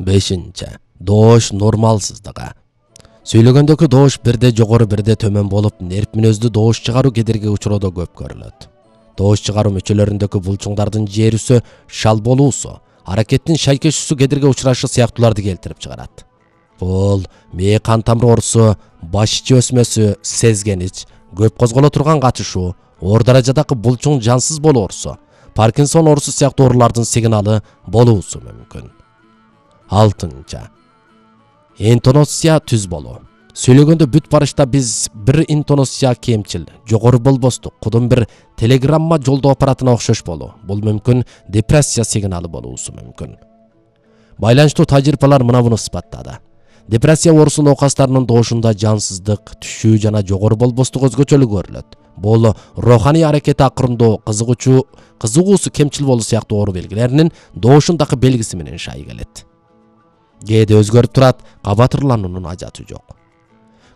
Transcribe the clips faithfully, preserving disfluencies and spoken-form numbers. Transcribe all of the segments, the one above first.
бешинчи. Доош нормалсыздыгы. Сүйлөгөндөгү доош бирде жогору бирде төмөн болуп, нерв мүнөздүү доош чыгаруу кедерги учуроодо көп көрүлөт. Доош чыгаруу мүчөлөрүндөгү булчуңдардын жээрүсү, шал болуусу, аракеттин шайкешүүсү кедерге учурашы сыяктууларды келтирип чыгарат. Бул мээ кан тамыр оорусу, баш ичи өсмөсү, сезгенич, көп козголо турган катышуу, оор даражадагы булчуң жансыз болуу оорусу, Паркинсон оорусу сыяктуу оорулардын сигналы болуусу мүмкүн. алтынчы. Интонация түз болуу. Сүйлөгөндө бүт барышта биз бир интонация кемчил, жогору болбостук, кудум бир телеграмма жолдоо аппаратына окшош болуу. Бул мүмкүн депрессия сигналы болуусу мүмкүн. Байланыштуу тажрыйбалар мына буну ысбаттады. Депрессия оорусу оокастарынын доошунда жансыздык, түшүү жана жогору болбостук өзгөчөлүк көрүлөт. Бул руханий аракети акырындоо, кызыгуучу, кызыгуусу кемчил болуу сыяктуу оору белгилеринин доошундагы белгиси менен шай келет. Кээде өзгөрүп турат, кабатырлануунун ажаты жок.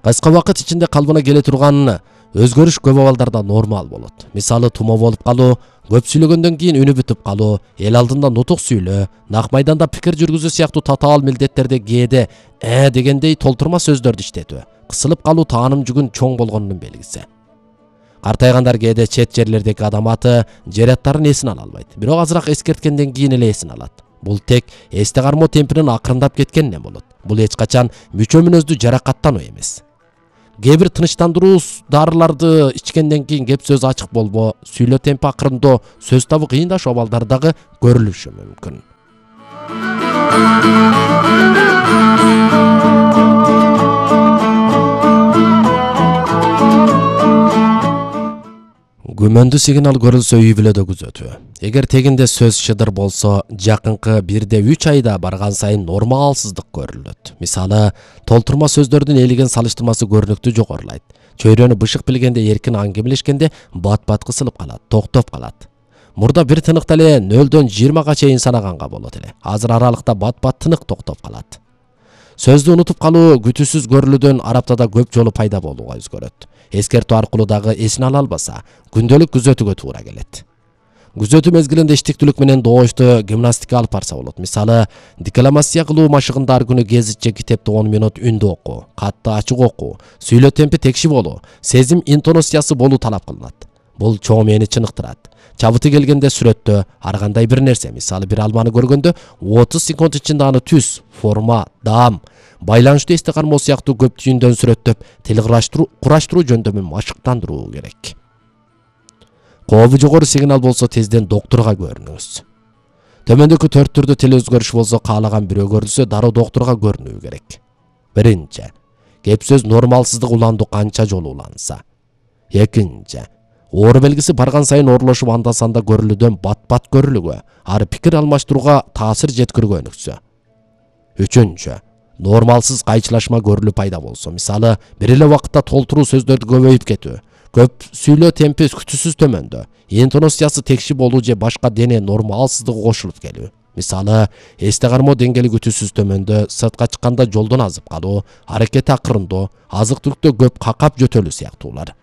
Кыска убакыт ичинде калыбына келе турган өзгөрүш көп абалдарда нормал болот. Мисалы, тумоо болуп калуу, көп сүйлөгөндөн кийин үнү бүтүп калуу, эл алдында нутук сүйлөө, нак майданда пикир жүргүзүү сыяктуу татаал милдеттерде кээде э дегендей толтурма сөздөрдү иштетүү, кысылып калуу тааным жүгүн чоң болгонунун белгиси. Картайгандар кээде чет жерлердеги адам аты, жер аттарын эсине ала албайт. Бирок азыраак эскерткенден кийин эле эсине алат. Бул тек эсте кармоо темпинин акырындап кеткенинен болот. Бул эч качан мүчө мүнөздүү жаракаттануу эмес. Кээ бир тынычтандыруу дарыларды ичкенден кийин кеп сөз ачык болбоо, сүйлөө темпи акырындоо, сөз табы кыйындашуу абалдары дагы көрүлүшү мүмкүн. Күмөндүү сигнал көрүлсө үй бүлөдө күзөтүү. Эгер тегинде сөз шыдыр болсо, жакынкы бирде үч айда барган сайын нормалсыздык көрүлөт. Мисалы, толтурма сөздөрдүн элеген салыштырмасы көрүнүктүү жогорулайт. Чөйрөнү бышык билгенде эркин аңгемелешкенде бат-бат кысылып калат, токтоп калат. Мурда бир тыныкта эле нөлдөн жыйырмага чейин санаганга болот эле. Азыр аралыкта бат-бат тынык токтоп калат. Сөздү унутуп калуу күтүүсүз көрүлүүдөн араптада көп жолу пайда болууга өзгөрөт. Эскертүү аркылуу дагы эсине ала албаса, күндөлүк күзөтүүгө туура келет. Күзөтүү мезгилинде иштиктүүлүк менен доошто гимнастика алып барса болот. Мисалы, декламация кылуу машыгында ар күнү гезитче китепти он минут үндө окуу, катты ачык окуу, сүйлөө темпи текши болуу, сезим интонациясы болуу талап кылынат. Бул чоң мээнни чыныктырат. Чабыты келгенде сүрөттө ар кандай бир нерсе, мисалы бир алманы көргөндө отуз секунд ичинде аны түс, форма, даам, байланыштуу эсте кармоо сыяктуу көп түйүндөн сүрөттөп, тил кураштыруу жөндөмүн машыктандыруу керек. Кообу жогору сигнал болсо тезден доктурга көрүнүңүз. Төмөндөгү төрт түрдүү тил өзгөрүш болсо, каалаган бирөө көрүлсө, дароо доктурга көрүнүү керек. Биринчи. Кеп сөз нормалсыздык уландуу канча жолу уланса. Экинчи. Оору белгиси барган сайын оорулошуп анда-санда көрүлүүдөн бат-бат көрүлүүгө, ары пикир алмаштырууга таасир жеткиргөнүксө. Үчүнчү. Нормалсыз кайчылашма көрүлүү пайда болсо, мисалы, бир эле убакытта толтуруу сөздөрдү көбөйүп кетүү, көп сүйлөө темпи күтүүсүз төмөндө, интонациясы текши болуу же башка дене нормалсыздыгы кошулуп келүү. Мисалы, эсте кармоо деңгээли күтүүсүз төмөндө, сыртка чыкканда жолдон азып калуу, аракети акырындоо, азык-түлүктө көп какап жөтөлүү сыяктуулар.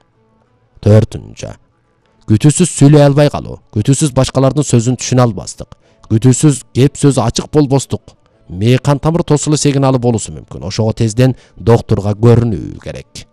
Төртүнчү. Күтүүсүз сүйлөй албай калуу, күтүүсүз башкалардын сөзүн түшүнө албастык, күтүүсүз кеп сөз ачык болбостук, мээ кан тамыр тосулу сигналы болуусу мүмкүн. Ошого тезден доктурга көрүнүү керек.